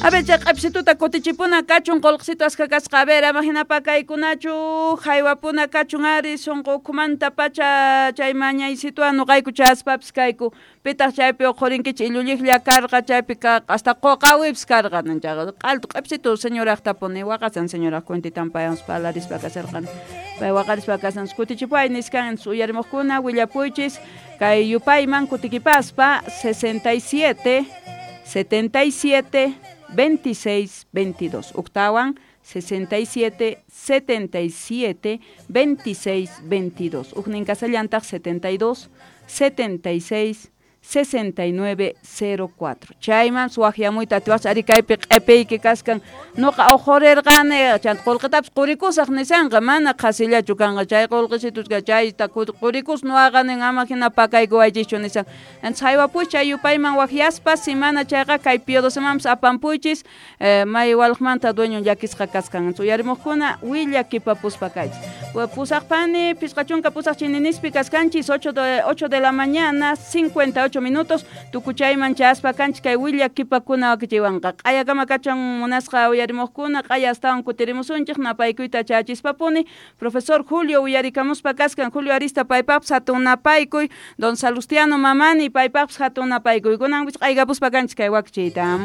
A ver, chay q'ipsituta kutichipuna kachun qullqisitu askha kasqa. A ver, ama hina pakaykunachu, haywapuna kachun ari sunqu ukhumanta pacha chay mañaysituwan nuqayku chayaspapis kayku. Pitaq chaypi uqhurinkichik illulliqlla karqa chaypi hasta quqawipis karqa chayqa q'altu q'ipsitu señoraqtapuni waqasan señoraq cuentitan paywan parlarispa kasharqani. Pay waqarispa kasan kutichipuway niskan uyarimuqkuna willapuychis kay yupayman kutikipaspa 67 77 26 22 uktawan 67 77 26 22 ujnin kasallantaq 72 76 6904 chayman suwaqyamuyta atiwaqchis ari kaypi q'ipiyki kaskan nuqa uqhurirqani chanta qullqitapis qurikusaq nisanqa mana qhasillachu kanqa chay qullqisitusqa chayta qurikus nuwaqa nin ama hina pakaykuwaychischu nisan. Entonces haywapuychis chay yupayman waqyaspa si mana chayqa kay Pio apampuychis may walqmanta dueño llakisqa kaskan. Uyarimuqkuna willakipapuspa kaychis. Pusaqpani 58 chininispi kaskanchis 8 de la mañana 58 minutos tukuchayman chayaspa kanchis kay willakipakuna wakichiywanqa q'ayakama kachun munasqa uyarimuqkuna q'aya astawan kutirimusunchik napaykuyta chayachispapuni profesor Julio uyarikamuspa kaskan Julio Arista paypaqpis hatun napaykuy don Salustiano Mamani paypaqpis hatun napaykuy kunan q'aykapuspa kanchis kay wakichiyta.